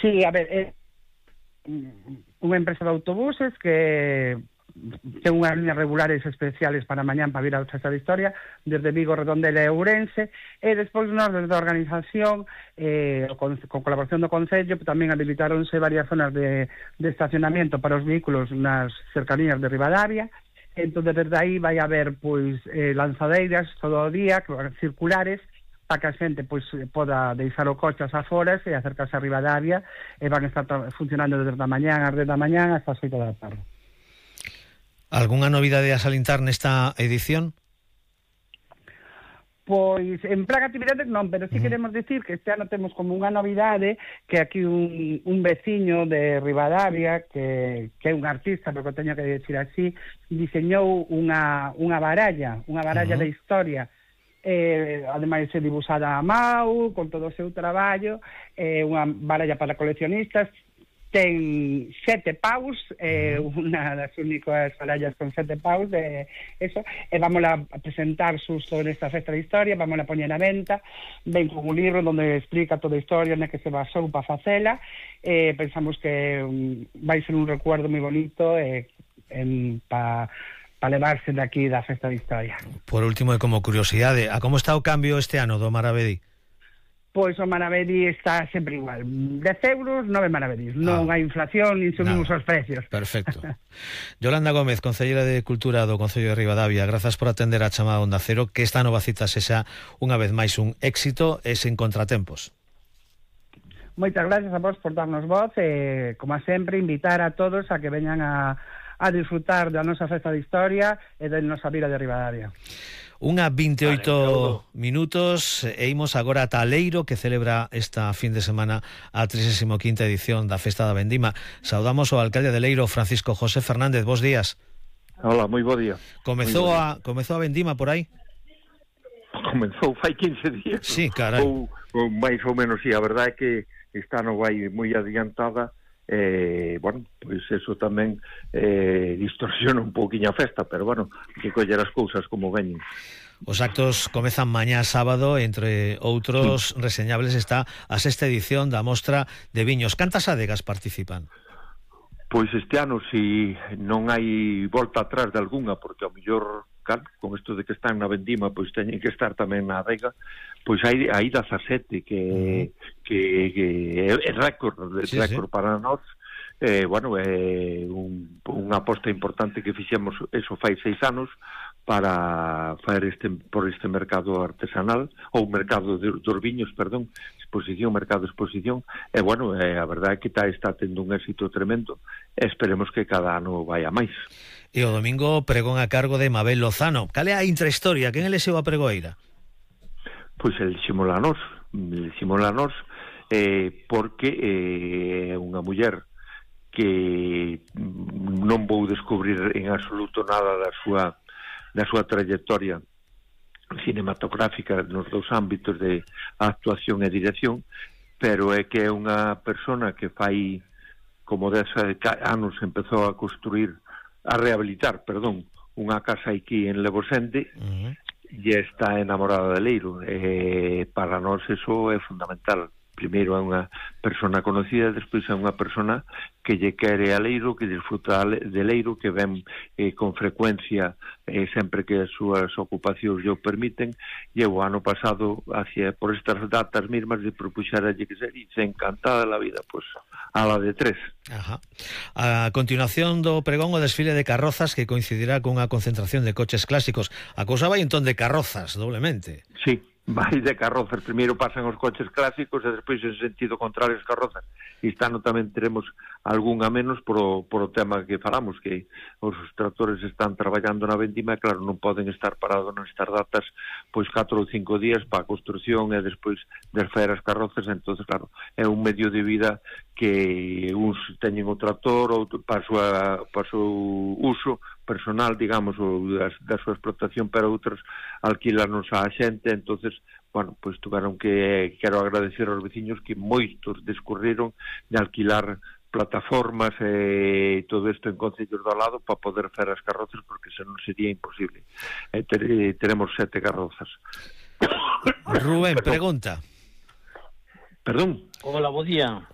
Sí, a ver, unha empresa de autobuses que ten unhas líneas regulares especiales para mañán para vir ao Festa da Historia desde Vigo, Redondela e Ourense, e despois nós desde a organización con colaboración do Concello tamén habilitaronse varias zonas de estacionamento para os vehículos nas cercanías de Ribadavia. Entón desde aí vai haber pois lanzadeiras todo o día circulares para que a xente pois poda deixar o coche ás aforas e acercarse a Ribadavia, e van a estar funcionando desde a mañán ás 10 da mañán hasta as 8 da tarde. Algunha novidade a salientar nesta edición? Pois en plan actividades non, pero sí queremos dicir que este ano temos como unha novidade que aquí un veciño de Ribadavia que é un artista, porque o teño que dicir así, diseñou unha baralla de historia, ademais é dibujada a mão con todo o seu traballo, unha baralla para coleccionistas. Ten 7 paus, unha das únicas barallas con 7 paus de eso, e vamos a presentar xusto nesta Festa de Historia, vamos a poñer a venta, ven con un libro onde explica toda a historia na que se basou para facela. Pensamos que vai ser un recuerdo moi bonito para levarse de aquí da Festa de Historia. Por último, e como curiosidade, a como está o cambio este ano do Maravedí? Pois o Maravedí está sempre igual. 10 euros, 9 maravedís. Non hai inflación, nin subimos os precios. Perfecto. Yolanda Gómez, Concelleira de Cultura do Concello de Ribadavia, grazas por atender a chamada Onda Cero, que esta nova cita sexa unha vez máis un éxito e sen contratempos. Moitas gracias a vos por darnos voz e, como sempre, invitar a todos a que veñan a disfrutar da nosa Festa de Historia e da nosa vila de Ribadavia. Unha 28 minutos e imos agora ata Leiro, que celebra esta fin de semana a 35ª edición da Festa da Vendima. Saudamos ao alcalde de Leiro, Francisco José Fernández. Bos días. Hola, moi bo día. Comezou a Vendima por aí? Comezou fai 15 días. Sí, carai. Ou máis ou menos, sí, a verdade é que esta non vai moi adiantada. Bueno, pois eso tamén distorsiona un pouquiño a festa, pero bueno, que coller as cousas como veñen. Os actos comezan mañá sábado, entre outros reseñables está a 6ª edición da Mostra de Viños. Cantas adegas participan? Pois este ano, si non hai volta atrás de algunha, porque ao mellor, claro, con isto de que están na Vendima, pois teñen que estar tamén na adega, pois hai 17 que é récord para nós. Bueno, é unha aposta importante que fixemos eso fai 6 anos para fazer por este mercado artesanal, ou mercado dos viños, perdón, mercado exposición, e bueno, a verdade é que está tendo un éxito tremendo, e esperemos que cada ano vai a máis. E o domingo pregón a cargo de Mabel Lozano. Cal é a intrahistoria? Quen elexeu a pregoeira? Pois eliximos a nós porque é unha muller que non vou descubrir en absoluto nada da súa trayectoria cinematográfica nos dous ámbitos de actuación e dirección, pero é que é unha persona que fai como 10 anos empezou a rehabilitar, unha casa aquí en Lebosende, e está enamorada de Leiro. Para nós eso é fundamental. Primeiro é unha persona conocida, despois é unha persona que lle quere a Leiro, que disfruta de Leiro, que ven con frecuencia sempre que as súas ocupacións lle o permiten, e o ano pasado, por estas datas mismas, de propuxeralle que se dice encantada la vida, pois a la de 3. Ajá. A continuación do pregón o desfile de carrozas que coincidirá cunha concentración de coches clásicos. A cousa vai entón de carrozas, doblemente. Sí. Vai de carrozas, primeiro pasan os coches clásicos e despois en sentido contrario as carrozas. Este ano tamén teremos algunha menos por o tema que falamos, que os tractores están traballando na Vendima e claro, non poden estar parados nestas datas pois 4 ou 5 días para a construción e despois desfaer as carrozas. Entonces claro, é un medio de vida que uns teñen o tractor outro para o seu uso personal, digamos, ou da súa explotación, pero outros alquilarnos a xente. Entonces, bueno, pois tuveron que quero agradecer aos veciños que moitos discurriron de alquilar plataformas e todo isto en concellos do lado para poder fer as carrozas, porque senón sería imposible. Teremos 7 carrozas. Rubén, pregunta. Perdón. Hola, bo día.